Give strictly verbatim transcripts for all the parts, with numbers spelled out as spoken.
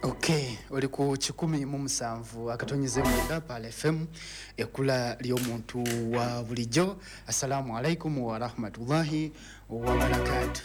Okay, oli ku kikumi mu musanvu akatonyeze mwenda Pearl F M, ekkula ly'omuntu wa bulijjo. Assalamu alaikum wa rahmatullahi wa barakatuh.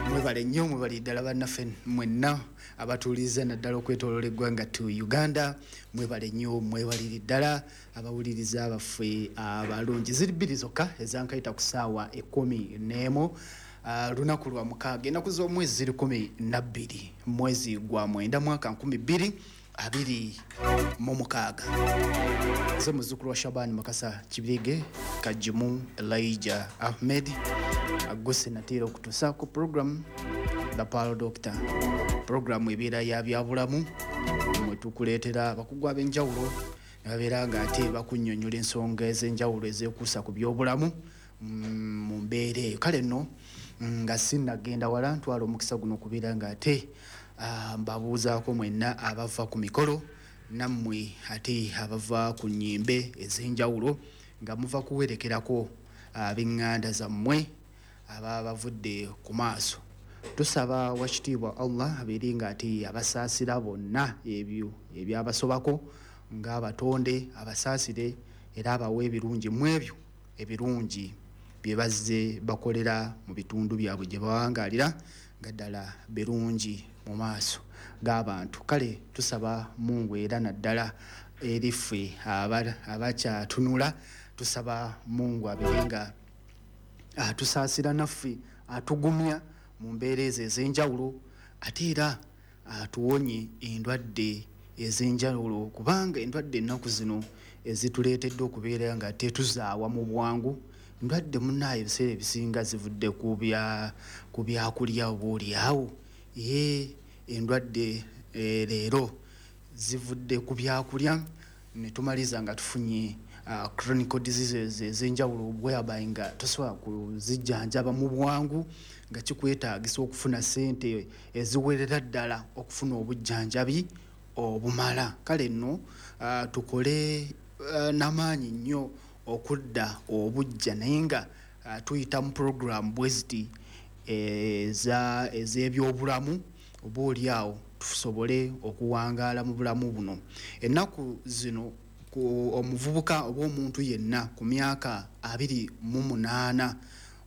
Mwebale nnyo, mwebale ddala bannaffe mwenna abatuuliza naddala okwetooloola eggwanga tu Uganda. Mwebale nnyo, mwebalire ddala abawuliriza baffe abalungi. Ziri bbiri zokka ezankayita ku ssaawa ekkumi n'emu. Uh, lunaku lwa mukaaga, ennaku z'omwezi ziri kumi na bbiri, mwezi gwa mwenda mwaka nkumi bbiri abiri mu mukaaga. Nze muzzukulu wa Shaban Mukasa Kibirige Kajimu Elijah Ahmed Aguse nateera okutuusa ku program The Pearl Doctor, program ebeera ya byabulamu mwe tukuleetera abakugu ab'enjawulo ne babeera ng'ate bakunnyonnyola ensonga ez'enjawulo ezeekuusa ku byobulamu mu mbeera eyo. Kale nno nga sinnagenda wala, ntwala omukisa guno okubeera ng'ate mbabuuzaako mwenna abava ku mikolo nammwe ate abava ku nnyimbe ez'enjawulo nga muva kuwerekerako ab'eŋŋanda zammwe ababa bavudde ku maaso. Tusaba wakitiibwa Allah abeere ng'ate abasaasira bonna ebyo ebyabasobako ng'abatonde, abasaasire era abawe ebirungi mu ebyo ebirungi bye bazze bakolera mu bitundu byabwe gye bawangaalira nga ddala birungi mu maaso g'abantu. Kale tusaba Mungu era naddala eri ffe abakyatunula, tusaba Mungu abeere nga atusaasira naffe, atugumya mu mbeera ezo ez'enjawulo, ate era atuwonye endwadde ez'enjawulo, kubanga endwadde ennaku zino ezituleetedde okubeera nga tetuzaawa mu bwangu. Ndwadde munnaayo ebiseera ebisinga zivudde ku bya ku byakulya oba oliawo. Ye endwadde leero zivudde ku byakulya ne tumaliza nga tufunye uh, chronic diseases ez'enjawulo whereby nga tosobola kuzijjanjaba mu bwangu, nga kikwetaagisa okufuna ssente eziwerera ddala okufuna obujjanjabi obumala. Kale nno uh, tukole uh, n'amaanyi nnyo okudda obujja, naye nga uh, tuyita mu program bwe ziti eza ez'ebyobulamu oba oli awo tusobole okuwangaala mu bulamu buno. Ennaku zino ku omuvubuka oba omuntu yenna ku myaka abiri mu munaana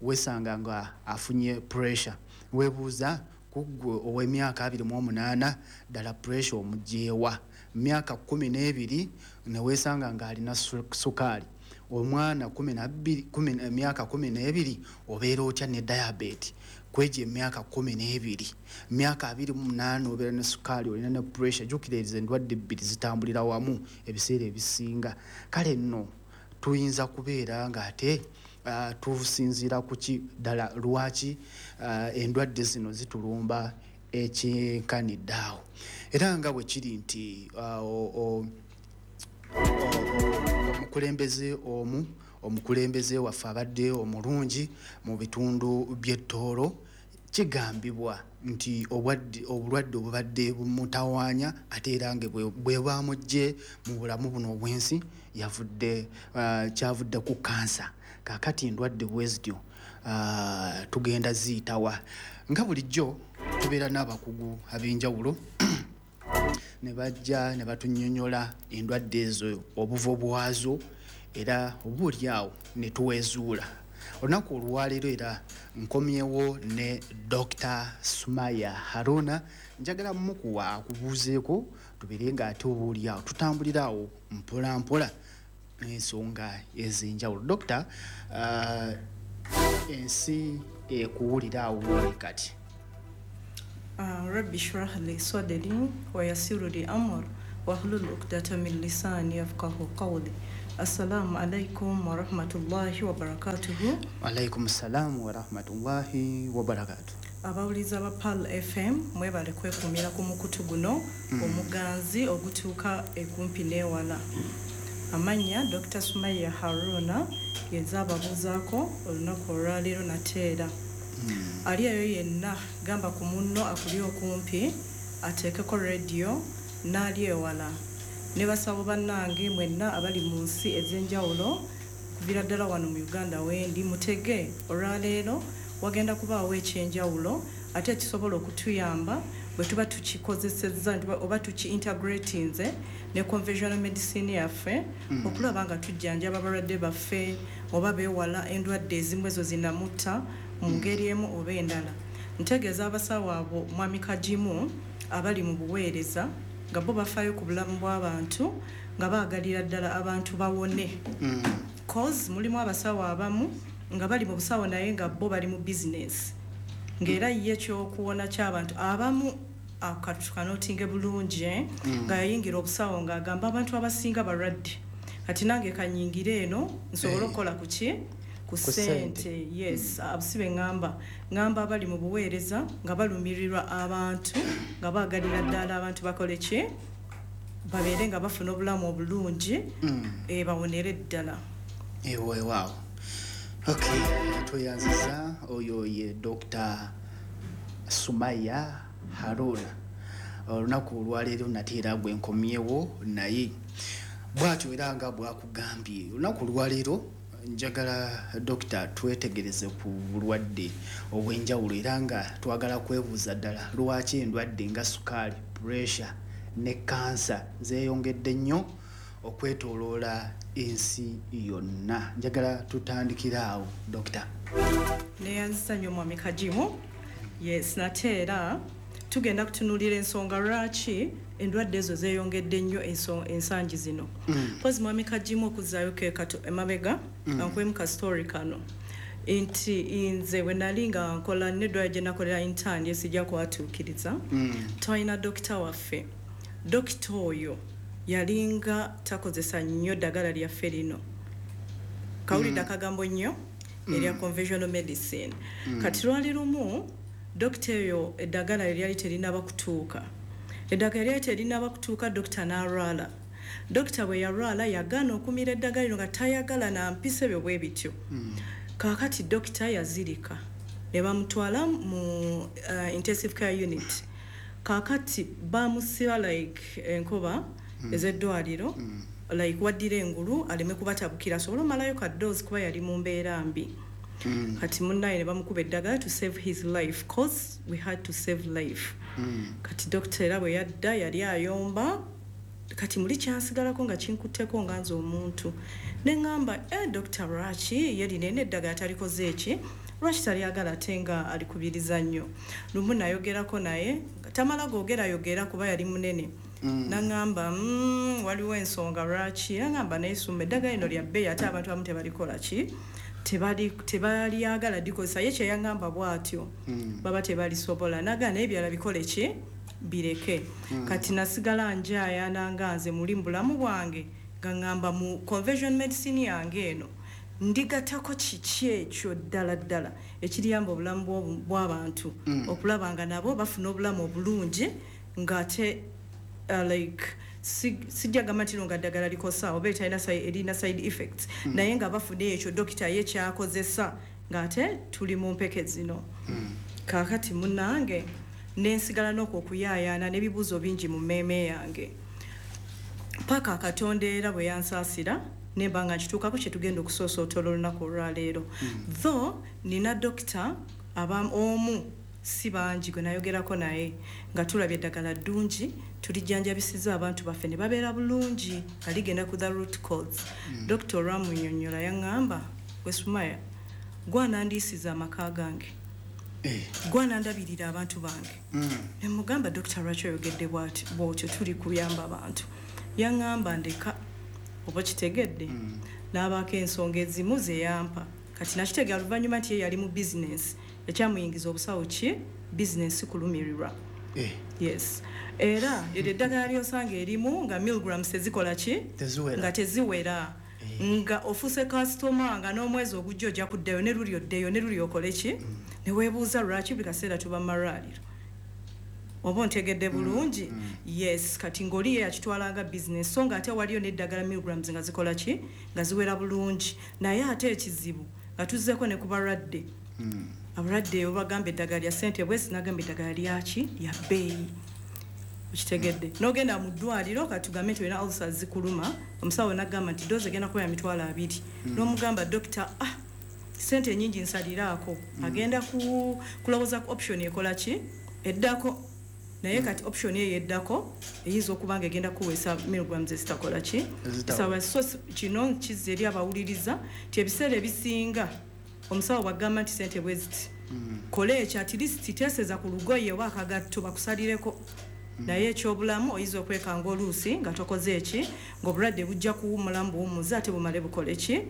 weesanga nga afunye pressure. Weebuuza ku ggwe ow'emyaka abiri mu omunaana ddala pressure omuggyeewa? Myaka kkumi n'ebiri ne weesanga ng'alina sukaali. Omwana kumi na bbiri, emyaka kumi n'ebiri obeera otya ne diabetes? Kwegyo emyaka kumi n'ebiri, myaka abiri mu munaana obeera ne sukaali, olina ne pressure. Jjukira ezo endwadde ebbiri zitambulira wamu ebiseera ebisinga. Kale nno tuyinza kubeera ng'ate uh, tusinziira ku ki ddala lwaki uh, endwadde zino zitulumba ekyenkanidde awo. Era nga bwe kiri nti uh, omukulembeze omu omukulembeze waffe abadde omulungi mu bitundu by'ettoolo, kigambibwa nti obulwadde obubadde bumutawaanya ate era nga bwe bwamuggye mu bulamu buno obw'ensi yavudde uh, kyavudde ku kansa. Kaakati endwadde bwe zityo uh, tugenda ziyitawa. Nga bulijjo tubeera n'abakugu ab'enjawulo ne bajja ne batunnyonnyola endwadde ezo obuvo bwazo era oba oli awo ne tuwezuula. Olunaku olwaleero era nkomyewo ne Doctor Sumaya Haruna. Njagala mmukuwa akubuuzeeko tubeere ng'ate oba oli awo tutambulira awo mpola mpola n'ensonga ez'enjawulo. Doctor, uh, ensi ekuwulira awo woli kati. Rabbi shrah li sadri wa yassir li amri wahlul uqdatan min lisani yafqahu qawli. Assalamu alaikum wa rahmatullahi wa barakatuhu. Alaikum salam wa rahmatullahi wa barakatuhu. Abawuliza ba Pearl F M mwebale kwekumira ku mukutu guno mm. omuganzi ogutuuka ekumpi n'ewala. Amannya Doctor Sumaya Haruna yenza ababuuzaako olunaku olwaleero nateera. Mm. Ali eyo yenna gamba ku munno akuli okumpi ateekeko rediyo n'ali ewala. Ne basabo bannange mwenna abali mu nsi ez'enjawulo kuviira ddala wano mu Uganda wendi mutege olwaleero wagenda kubaawo ekyenjawulo ate ekisobola okutuyamba Bwe tuba tukikozesezza oba tuki-integratinze ne conventional medicine yaffe, Mm. okulaba nga tujjanjaba abalwadde baffe oba beewala endwadde ezimu ezo zinamutta mu ngeri emu oba endala. Ntegeeza abasawo abo, mwami Kagimu, abali mu buweereza nga bo bafaayo ku bulamu bw'abantu, nga baagalira ddala abantu bawone, Mm. cause mulimu abasawo abamu nga bali mu busawo naye nga bo bali mu bizinesi, ng'era ye ekyokuwona ky'abantu abamu akatukanootinge bulungi, eh? Mm. Nga yayingira obusawo ng'agamba abantu abasinga balwadde, kati nange kanyingire eno nsobole Eh. okukola ku ki? Ku Ku ssente. ssente. Yes, abusibe. ŋŋamba ŋŋamba abali mu buweereza nga balumirirwa abantu, nga baagalira ddala abantu bakole ki? Babeere nga bafuna obulamu obulungi, Mm. eh, bawonere ddala. Weewaawo, okay, tweyanziza. Oyo ye Doctor Sumaya Haruna. Olunaku olwaleero nate era gwe nkomyewo naye bwatyo era nga bwakugambye, olunaku olwaleero njagala dokita twetegereze ku bulwadde obw'enjawulo, era nga twagala kwebuuza ddala lwaki endwadde nga sukaali, pressure ne kansa zeeyongedde nnyo okwetooloola ensi yonna. Njagala tutandikire awo, dokita. Neyanzisa nnyo, mwami Kagimu. Yes, nate era tugenda kutunuulira ensonga lwaki endwadde ezo zeeyongedde nnyo enso- ensangi zino. Mpozi mwami Kagimu, okuzzaayo ke kato emabega, mm. ankwemu ka story kano nti nze bwe nali nga nkola neddwaliro gye nakolera intern, esijja kwatuukiriza, Mm. twalina dokita waffe. Dokita oyo yalinga takozesa nnyo ddagala lyaffe lino, kawulidde akagambo nnyo erya conventional medicine. Kati lwali lumu dokita eyo eddagala lyali terinaba kutuuka, eddagala lyali terinaba kutuuka, dokita n'alwala. Dokita bwe yalwala yagaana okumira eddagala lino nga tayagala nampisa ebyo bwe bityo. Kaakati dokita yazirika ne bamutwala mu uh, intensive care unit. Kaakati bamusiba like enkoba ez'eddwaliro, like waddira engulu aleme kubatabukira, asobole omalayo kadoozi kuba yali mu mbeera mbi. Kati munnaye ne bamukuba eddagala to save his life, cause we had to save life. Kati dokita era bwe yadda yali ayomba. Kati muli kyansigalako nga kinkutteko nga nze omuntu, ne ŋŋamba, e dokita lwaki ye lino eno eddagala talikoze eki? Lwaki talyagala ate nga alikubiriza nnyo? Lumu nayogerako naye nga tamala googerayogera kuba yali munene, naŋŋamba, mm, waliwo ensonga lwaki." Naŋŋamba, "Naye Sumba, eddagala lino lya bbeeyi ate abantu abamu tebalikola ki? Tebali- tebalyagala likozesa." Ye kyeyaŋŋamba bw'atyo, baba tebalisobola. Nagaa naye ebirala bikole ki? Bireke. Kati nasigala njayana nga nze muli mu bulamu bwange nga ŋŋamba mu convention medicine yange eno ndigatako kiki ekyo ddala ddala ekiriyamba obulamu bw'obu- bw'abantu okulaba nga nabo bafuna obulamu obulungi, ng'ate uh, like si- sijja gamba nti no nga ddagala likosa oba etalina si- erina side effects, naye nga bafuna ekyo dokita ye kyakozesa ng'ate tuli mu mpeke zino. Kaakati munnange nensigala n'okwo okuyaayaana n'ebibuuzo bingi mu mmeeme yange paka Katonda era bwe yansaasira nemba nga nkituukako kye tugenda okusoosootola olunaku olwaleero. Though nina dokita aba omu, si bangi, gwe nayogerako naye nga tulabye eddagala ddungi, tulijjanjabisiza abantu baffe ne babeera bulungi nga ligenda ku the root cause. Dokita olwamunyonnyola yaŋŋamba, "Gwe Sumaya, gwanandiisiza amaka gange, Eh. gwanandabirira abantu bange." Mm. Nemugamba, "Dokita, lwaki oyogedde bw'ati bw'otyo? Tuli kuyamba bantu." Yaŋŋamba, "Ndeka, oba kitegedde." N'abaako ensonga ezimu ze yampa. Kati nakitegera luvannyuma nti ye yali mu bizinensi, ekyamuyingiza obusawo ki? Bizinensi, kulumirirwa. Eh. Yes, era eryo eddagala lyosanga erimu nga milligrams tezikola ki? Teziwera. Nga teziwera, nga ofuuse kasitoma, nga n'omwezi ogujja ojja kuddayo ne luli oddeyo ne luli okole ki, ne weebuuza lwaki buli kaseera tuba mu malwaliro. Oba ontegedde bulungi? Yes. Kati ng'oli ye yakitwala nga bizinesi, so nga ate waliyo n'eddagala milligrams nga zikola ki? Nga ziwera bulungi. Naye ate ekizibu nga tuzzeeko ne ku balwadde, abalwadde obagamba eddagala lya ssente bwesi, nagamba eddagala lyaki? Lya bbeeyi. Okitegedde? N'ogenda mu ddwaliro, katugambe nti olina ulcers zikuluma, omusawo nagamba nti dose egenda kuba ya mitwalo abiri. N'omugamba, "Dokita, ah, sente nyingi, nsaliraako." Agenda ku kulowooza ku option ekola ki eddako. Naye mm. kati option eyo eddako eyinza okuba nga egenda kuweesa milligrams ezitakola ki? Sawa. So kino kizza eri abawuliriza nti ebiseera ebisinga omusawo bw'agamba nti sente bwe ziti, mm. kola ekyo, at least teeseza ku lugoye oba akagatto bakusalireko. Mm. Naye ekyobulamu oyinza okwekanga oluusi nga tokoze eki, ng'obulwadde bujja kuwummulamu buwummuze ate bumale bukole ki?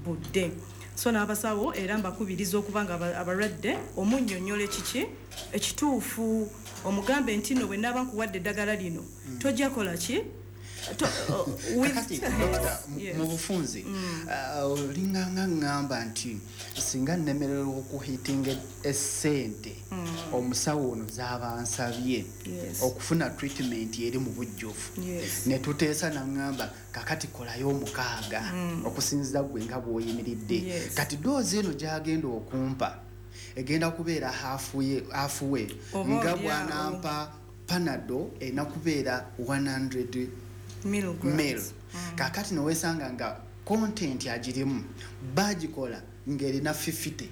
Budde. So n'abasawo era mbakubiriza okuba nga abalwadde omunnyonnyola ekiki ekituufu, omugambe nti no bwe naaba nkuwadde eddagala lino mm. tojja kola ki? Kakati dokita, mu bufunze olinganga ŋŋamba nti singa nnemererwa okuhitinga essente omusawo ono z'aba nsabye okufuna treatment eri mu bujjuvu, ne tuteesa naŋŋamba kakati kolayo omukaaga okusinziira gwe nga bw'oyimiridde, kati doozi eno gy'agenda okumpa egenda kubeera halfway nga bw'anampa Panado erina kubeera one hundred mil. Mm. Kakati nowesanga nga content agirimu bagikola ng'erina fifty.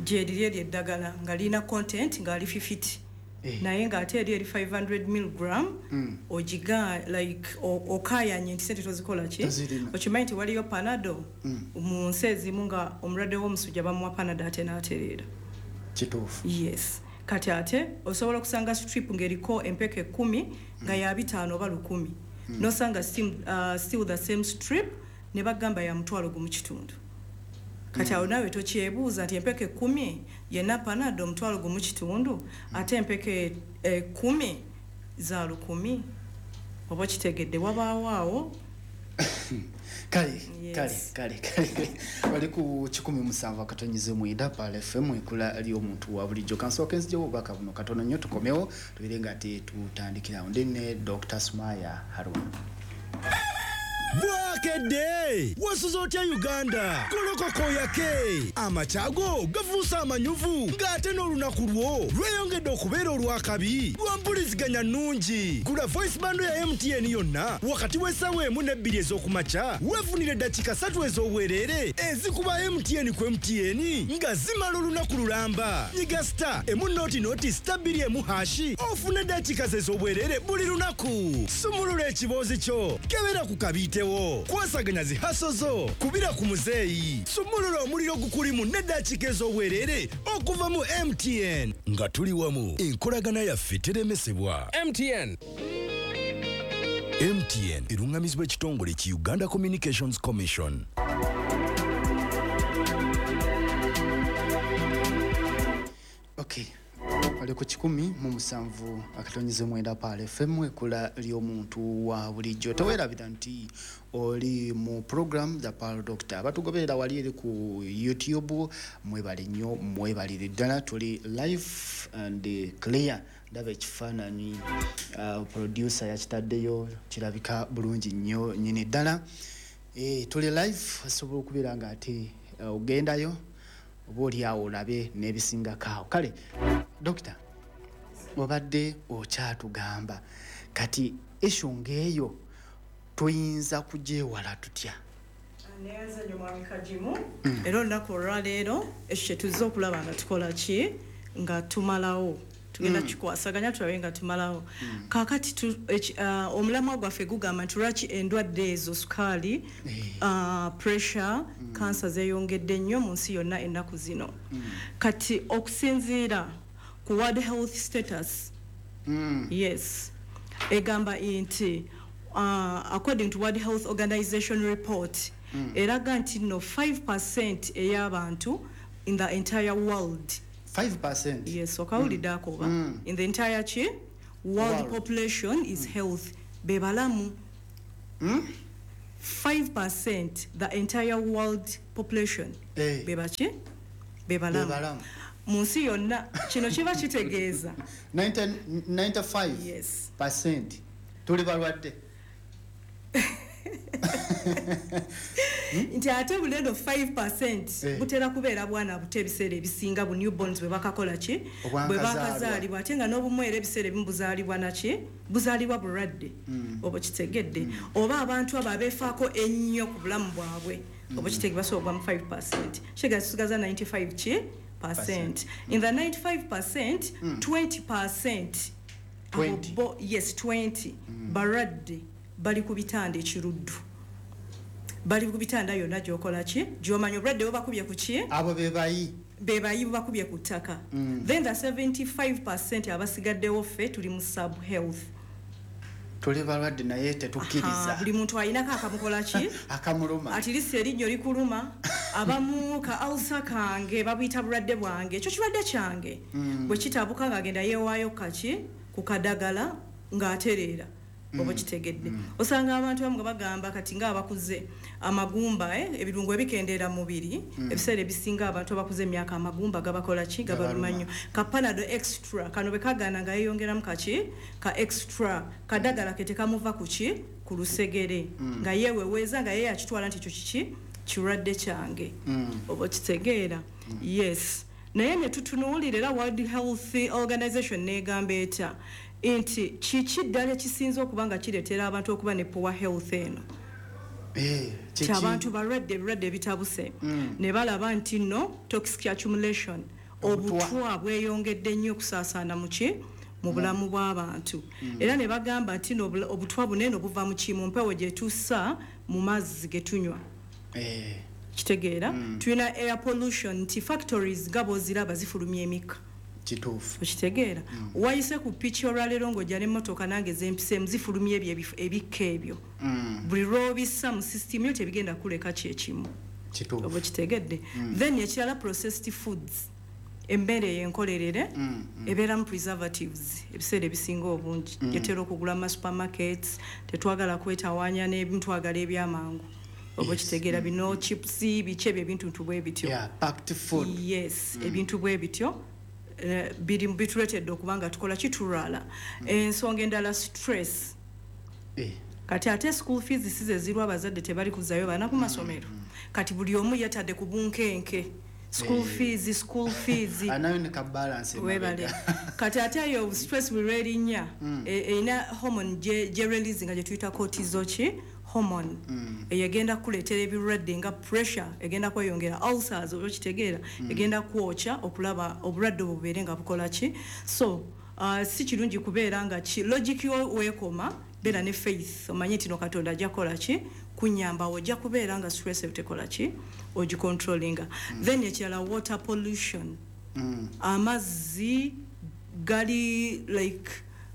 Gyeriri eri eddagala nga lirina content ng'ali fifty. Eh. Naye ng'ate eri eri five hundred milligram mm. ogiga like okayanye nti sente tozikola ki? Okimanyi nti waliyo Panado mm. mu nsi ezimu nga omulwadde w'omusujja bamuwa Panado ate n'atereera. Kituufu. Yes. Kati ate osobola okusanga strip ng'eriko empeke kkumi nga ya bitaano oba lukumi. Mm. Nosanga still, uh, still the same strip ne bagamba ya mutwalo gumu kitundu. Kati awo naawe tokyebuuza nti empeke kkumi yenna Panado omutwalo gumu kitundu mm. ate empeke ekkumi za lukumi, oba okitegedde wabaawo awo. Kale kale kale kale bali ku kikumi musanvu akatonyize mwenda Pearl F M ekula ly'omuntu wa bulijjo. Kansooke nzijewo obubaka buno katono nnyo tukomewo tubeere nga ate tutandikirawo. Ndi ne Doctor Sumaya Haruna. Bwakedde wasuze otya Uganda? Golokoko yake amakyago gafuuse amanyuvu ng'ate n'olunaku lwo lweyongedde okubeera olw'akabi lwa mpuliziganya nnungi. Gula voice bando ya M T N yonna wakati w'essaawa emu n'ebbiri ez'okumakya weefunire eddakiika ssatu ez'obwereere ezikuba M T N ku M T N nga zimala olunaku lulamba. Nyiga star emu noti noti star bbiri emu hashi ofune eddakiika ze ez'obwereere buli lunaku. Sumulula ekiboozi kyo, kebera ku kabiitewo, kwasaganya zi haso zo, kubira ku muzeeyi, sumulula omuliro gukulimu n'eddakiika ez'obwereere okuva mu M T N. Nga tuli wamu, enkolagana yaffe teremesebwa. M T N. M T N erungamizibwa ekitongole ki Uganda Communications Commission. Okay. Bali ku kikumi mu musanvu akatonyize mwenda Pearl F M ekula ly'omuntu wa bulijjo. Teweerabira nti oli mu program The Pearl Doctor. Abatugoberera wali eri ku YouTube mwebale nnyo, mwebalire ddala. Tuli live and clear. Ndaba ekifaananyi uh, producer yakitaddeyo kirabika bulungi nnyo nnyini ddala. E, tuli live, osobola okubeera nga ate uh, ogendayo oba oli awo olabe n'ebisingako awo. Kale Dokita, obadde okyatugamba kati issue ng'eyo tuyinza kugyewala tutya? Neyanza nnyo Mwami Kagimu. Era olunaku olwaleero ekyo kye tuzze okulaba nga tukola ki, nga tumalawo tugenda kikwasaganya tulabe nga tumalawo. Kaakati omulamwa gwaffe gugamba nti lwaki endwadde ezo sukaali, pressure, kansa zeeyongedde nnyo mu nsi yonna ennaku zino. Kati okusinziira ku World Health Status, yes, egamba nti according to World Health Organization report, eraga nti no five percent ey'abantu in the entire world. five percent? Yes, okawulidde akoba. Mm. In the entire chi, world, world population is mm. health. Bebalamu. Mm? five percent the entire world population. Hey. Bebachi? Bebalamu. Bebalamu. Mu nsi yonna kino kiba kitegeeza. ninety-five yes. percent. Tuli balwadde. Nti ate bulendo five percent butera kubeera bwana buto ebiseera ebisinga bu newborns bwe bakakola ki, bwe bakazaalibwa, ate nga n'obumwera ebiseera ebimu buzaalibwa naki, buzaalibwa bulwadde, oba kitegedde, oba abantu abo abeefaako ennyo ku bulamu bwabwe, oba kitege basobola mu five percent. Kitegeeza tusigaza ninety-five ki percent. In the ninety-five percent, twenty percent Abo twenty. bo, yes, twenty balwadde bali ku bitanda ekiruddu, bali ku bitanda yonna gyokola ki, gyomanya obulwadde bubakubye ku ki. Abo be bayi. Be bayi, bubakubye ku ttaka. Then the seventy-five percent abasigaddewo, ffe tuli mu sub health. Tuli balwadde naye Aha, tetukkiriza. Buli muntu ayinako akamukola ki, akamuluma. At least erinnyo likuluma, abamu ka ulcer kange babuyita bulwadde bwange, ekyo kirwadde kyange. Bwe kitabuka ng'agenda yeewaayo kaki ku kadagala ng'atereera, oba kitegedde. Osanga abantu abamu nga bagamba kati ng'abakuze amagumba, eh, ebirungo ebikendeera mu mubiri. Ebiseera ebisinga abantu abakuze emyaka amagumba gabakola ki? Gabaluma nnyo. Ka Panado extra kano bwe kagaana nga yeeyongeramu kaki ka extra kadagala ke tekamuva ku ki, ku lusegere, nga yeeweweeza nga ye yakitwala nti ekyo kiki, kirwadde kyange, oba okitegeera. Yes, naye ne tutunuulira era World Health Organization negamba etya nti kiki ddala ekisinza okuba nga kireetera abantu okuba ne poor health eno? Eh, ti kiki? Abantu balwadde ebirwadde ebitabuse, ne balaba nti nno toxic accumulation, Obutwa. Obutwa bweyongedde nnyo okusaasaana muki, mu bulamu bw'abantu. Era ne bagamba nti nno obula- obutwa bunene buva mu ki, mu mpewo gye tussa, mu mazzi ge tunywa. Eh, Kitegeera, tulina air pollution, nti factories nga bw'oziraba zifulumya emikka. Kituufu. Okitegeera, wayise ku piki olwaleero ng'ojja n'emmotoka nange zempiseemu, zifulumya ebyo ebif- ebikka ebyo. Buli lw'obissa mu system yo tebigenda kuleka kyekimu. Kituufu. Oba okitegedde. Then ekirala, processed foods, emmere yenkolerere ebeeramu preservatives ebiseera ebisinga obungi, gyetera okugula mu supermarkets. Tetwagala kwetawaanya n'ebintu, twagala ebyamangu, oba okitegeera, bino chips, biki ebyo, ebintu ntu bwe bityo. Yeah, packed food. Yes, ebintu bwe bityo eh, biri bituleetedde okuba nga tukola kitulwala. Ensonga endala, stress. Eh, Kati ate school fees si ze zirwa, abazadde tebali kuzzayo baana ku masomero. Kati buli omu yetadde ku bunkenke, school fees, school fees. Anayo ne ka balance Webale. Emabega. Kati ate eyo stress bwe lwerinnya, erina hormone gye gye release nga gye tuyita cortisol ki hormone. Eyo egenda kukuleetera ebirwadde nga pressure egenda kweyongera, ulcers, oba okitegeera, egenda kwokya okulaba obulwadde obwo bubeere nga bukola ki. So uh, si kirungi kubeera nga ki logic yo weekoma. Beera ne faith, omanye nti no Katonda ajja kukola ki, kunyamba, ojja kubeera nga stress eyo tekola ki, ogicontrollinga. Then ekirala, water pollution. Amazzi gali like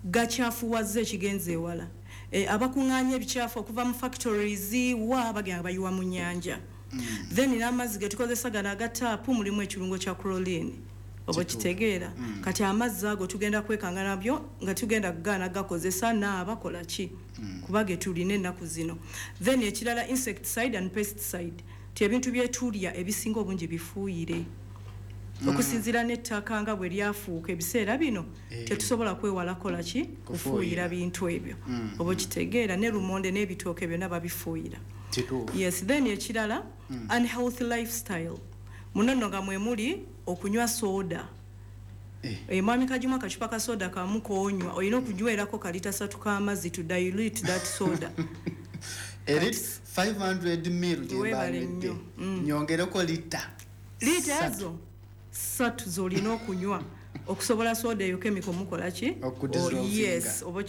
gakyafuwazza ekigenza ewala. e, abakuŋŋaanya ebikyafu okuva mu factories wa bagenda bayiwa mu nnyanja. Then n'amazzi getukozesa gano aga taapu mulimu ekirungo kya chlorine, oba kitegeera. Kati amazzi ago tugenda kwekanga nabyo nga tugenda kugaana gakozesa naabakola ki, kuba ge tulina ennaku zino. Then ekirala, insecticide and pesticide, ti ebintu byetulya ebisinga obungi bifuuyire. Okusinziira n'ettaka nga bwe lyafuuka ebiseera bino, Eh. tetusobola kwewala kola ki, kufuuyira bintu ebyo, oba okitegeera. Ne lumonde n'ebitooke byonna babifuuyira. Kituufu. Yes, then ekirala, unhealthy lifestyle. Muno nno nga mwe muli okunywa soda. Eh. Eh, mwami Kajimu, akacupa ka soda kamu konywa, olina okunywerako kalita satu k'amazzi to dilute that soda. Eri five hundred mil Weebale gye nnyo. Mm. nyongereko lita Liita ssatu. Ezo ssatu z'olina okunywa okusobola soda eyo chemical mukola ki? Okudissolvinga. Oh, yes, oba.